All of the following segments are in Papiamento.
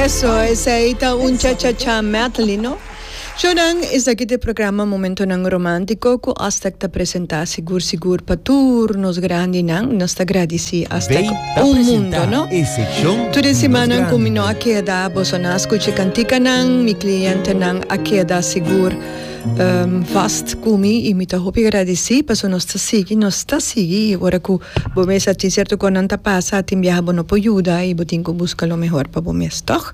Eso, esei ta un cha cha cha medley, no? Shownan, esaki ta e programa Momentonan Romántico cu Aztec ta presenta sigur sigur pa tur nos grandinan. Nos ta gradici Aztec Bay ta un mundo, presenta no? e seccion Tur e di nos simannan cu mi no a grandinan. keda, boso nan a scucha e canticanan, mi clientenan a keda sigur vast cu mi y mi ta hopi gradici pasobra nos ta sigui, nos ta sigui y ora cu bo mes a tin cierto cosnan ta pasa, tin biaha bo no por yuda y bo tin cu busca lo mehor pa bo mes, toch?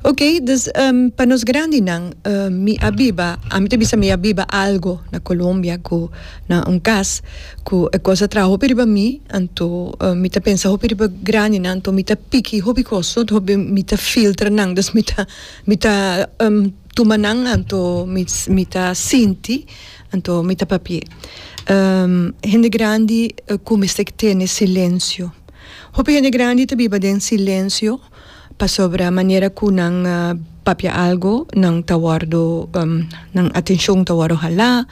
Ok, dus pa nos grandinan mi a biba, ami ta bisa mi a biba algo na Colombia cu na un cas cu e cos a traha hopi riba mi, anto mi ta pensa hopi riba grandinan, anto mi ta piki hopi cos, hopi mi ta filtra nan, dus mi ta mi ta tuma nan anto mi mi ta sinti anto mi ta papia. Hende grandi cu mester tene silencio, hopi hende grandi ta biba den silencio. Pasobra manera ku nan papia algo nan ta wòrdu nan atenshon ta wòrdu halá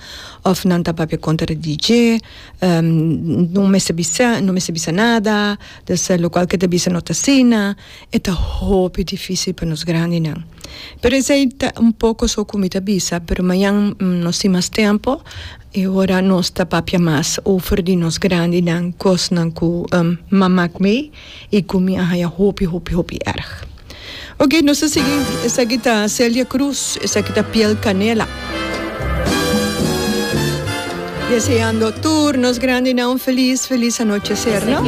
òf nan ta papia kontra di dje no mester bisa no mester bisa nada dus lokual ke ta bisa no ta asina e ta hopi difisil pa nos grandinan pero esei ta un poko so ku mi ta bisa pero mañan nos tin mas tempo e ora nos ta papia mas over di nos grandinan kosnan ku mamak mei. Y cu mi a haya hopi hopi hopi erg. Ok, nos ta sigui. Esaki ta Celia Cruz, esaki ta Piel Canela. Deseando tur nos grandinan un feliz, feliz anochecer, no?